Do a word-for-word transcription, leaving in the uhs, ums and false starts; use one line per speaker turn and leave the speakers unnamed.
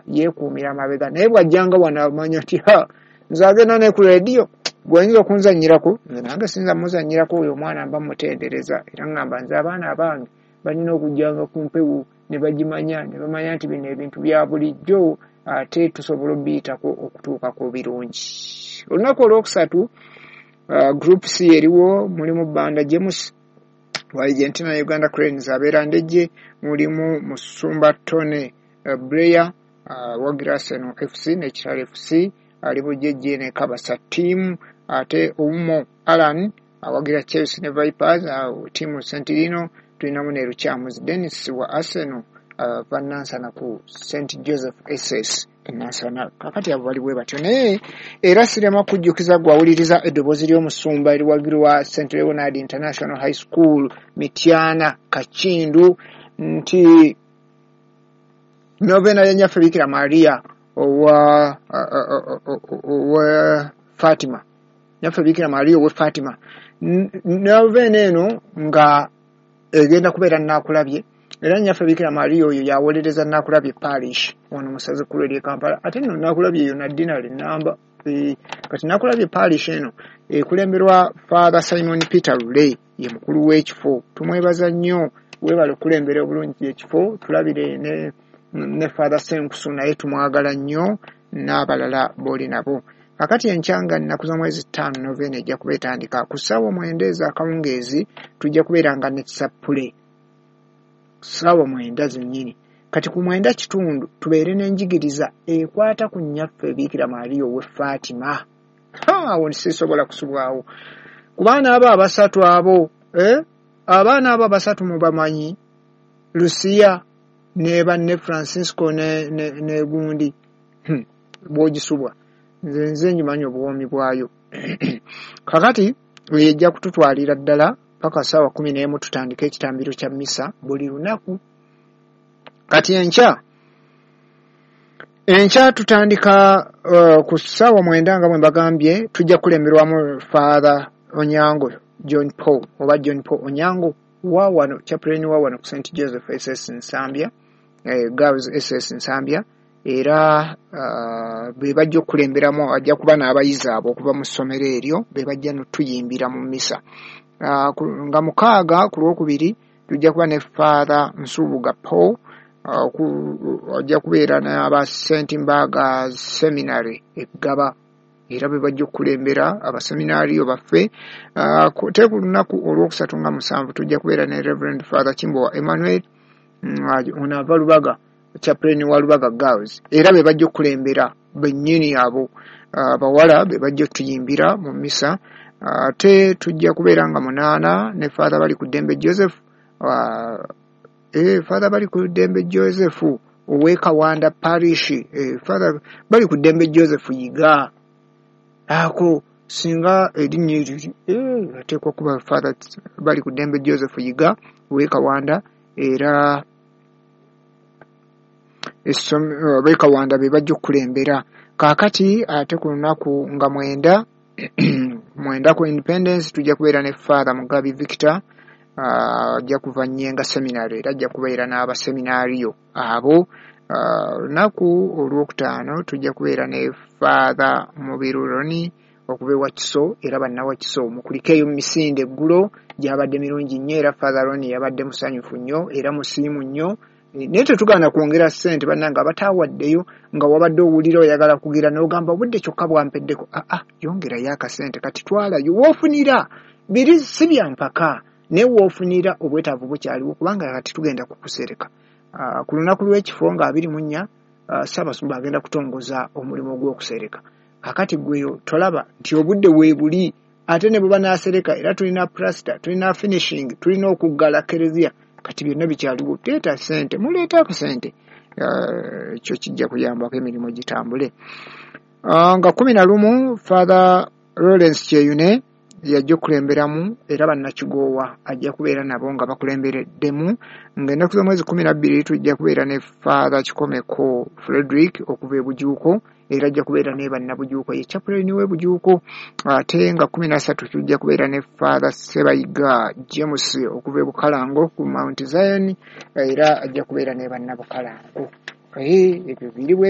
Yeekuumira mabega, naye bw'ajjanga wano amanya nti ha, nze agenda ne ku rediyo gw'oyinza okunzannyirako, nze nange siyinza muzannyirako. Oyo omwana mba mutendereza, era ŋŋamba nze abaana abange balina okujjanga ku mpewo ne bagimanya, ne bamanya nti bino ebintu bya bulijjo, ate tusobola obiyitako okutuuka ku birungi. Olunaku olwokusatu, uh, Group C eriwo, mulimu Banda James wa Argentina, Uganda Cranes, abeera Ndejje, mulimu Musumba Tony uh, Blair uh, wagira Arsenal F C ne Kitara F C, ali Bujejje ne Kabasa team, ate Oumo Alan awagira Chelsea ne Vipers, uh, tiimu Sentilino. Tulinamu ne Lukyamuzi Dennis wa Arsenal, uh, Nansana ku Saint Joseph S S Nansana. Kakati abo bali bwe batyo, naye era sirema kujjukiza gwawuliriza eddoboozi ly'omusumba eriwagirwa Saint Leonard International High School Mityana Kakindu nti novena ya Nyaffe Bikira Maria owa owa Fatima, Nyaffe Bikira Maria owe Fatima, novena eno nga egenda kubeera Naakulabye, era Nyaffe Bikira Maria oyo yawolereza Naakulabye Parish wano musaze ekkulu ery'e Kampala. Ate nno Naakulabye eyo naddinale namba. Kati Naakulabye Parish eno ekulemberwa Father Simon Peter Lule, ye mukulu w'ekifo. Tumwebaza nnyo, weebale okulembera obulungi ekifo. Tulabire ne, ne Father Senkusu, naye tumwagala nnyo, n'abalala b'oli nabo. Kakati enkyanga nnaku z'omwezi ttaano, novena ejja kuba etandika ku ssaawa mwenda ez'akawungeezi. Tujja kubeera nga nekisappule ssaawa mwenda zennyini. Kati ku mwenda kitundu tubeere n'enjigiriza ekwata ku Nnyaffe Biikira Maria ow'e Fatima. Awo sisobola kusubwawo ku baana abo abasatu abo, eh? Abaana abo abasatu mubamanyi, Lucia ne banne Francisco ne, ne, ne gundi, hmm. bw'ogisubwa nze nze njimanyi obuwoomi bwayo. Kakati ejja kututwalira ddala paka ssaawa kumi n'emu, tutandike ekitambiro kya misa buli lunaku. Kati enkya enkya tutandika uh, ku ssaawa mwenda nga bwe mbagambye. Tujja kukulemberwamu Father Onyango John Paul oba John Paul Onyango wa wano, chaplain wa wano ku Saint Joseph S S Nsambya, eh, Girls S S Nsambya, era uh, be bajja okukulemberamu. Ajja kuba n'abayizi abo okuva mu ssomero eryo, be bajja notuyimbira mu misa. uh, nga mukaaga ku Lwokubiri tujja kuba ne Father Nsubuga Paul, uh, ajja kubeera n'aba Saint Mbaga Seminary Eggaba, era be bajja okukulembera abaseminaariyo baffe. Te ku lunaku olwokusatu nga musanvu tujja kubeera ne Reverend Father Kimbowa Emmanuel, ono ava Lubaga, chaplain wa Lubaga Girls, era be bajja okukulembera bennyini abo abawala, be bajja otuyimbira mu misa. Ate tujja kubeera nga munaana ne Father bali ku ddembe Joseph, eh, Father bali ku ddembe Joseph ow'e Kawanda Parish, eh, Father bali ku ddembe Joseph Yiga. Ako singa erinnya eryo eh, ateekwa kuba Father bali ku ddembe Joseph Yiga ow'e Kawanda, era ab'e Kawanda be bajja okukulembera. Kaakati ate ku lunaku nga mwenda mwenda ku Independence tujja kubeera ne Father Mugabi Victor, ajja kuva Nyenga Seminary, era ajja kubeera n'abaseminaariyo abo. Olunaku olwokutaano tujja kubeera ne Father Mubiru Roni okuva ewa Kiso, era bannawakiso mukulikeeyo mu misinde. Eggulo gyabadde mirungi nnyo, era Father Roni yabadde musanyufu nnyo era musiimu nnyo. Naye tetugaana kwongera ssente, bannange abataawaddeyo, nga wabadde owulira oyagala kugira n'ogamba obudde kyokka bwampeddeko, aa, yongerayo akasente. Kati twalayo woofunira biri, si bya mpaka, naye woofunira obwetaavu bukyaliwo, kubanga kati tugenda kukusereka. Ku lunaku lw'ekifo nga abiri mu nnya, Ssaabasumba agenda kutongoza omulimu gw'okusereka. Kakati gweyo tolaba nti obudde weebuli, ate ne bwe banaasereka era tulina plaster, tulina finishing, tulina okuggala kereziya. Kati byonna bikyaliwo. Teeta ssente, muleete akasente, ekyo kijja kuyambako emirimu gitambule. Nga kumi na lumu Father Lawrence Kyeyune yajja okukulemberamu, era bannakigoowa ajja kubeera nabo nga bakulembereddemu. Ng'ennaku z'omwezi kumi na bbiri tujja kubeera ne Father Kikomeko Frederick okuva e Bujuuko, era ajja kubeera ne bannabujuuko, ye chaplain w'e Bujuuko. Ate nga kumi na ssatu tujja kubeera ne Father Sebayiga James okuva e Bukalango ku Mount Zion, era ajja kubeera ne bannabukalango. Ebyo biri bwe.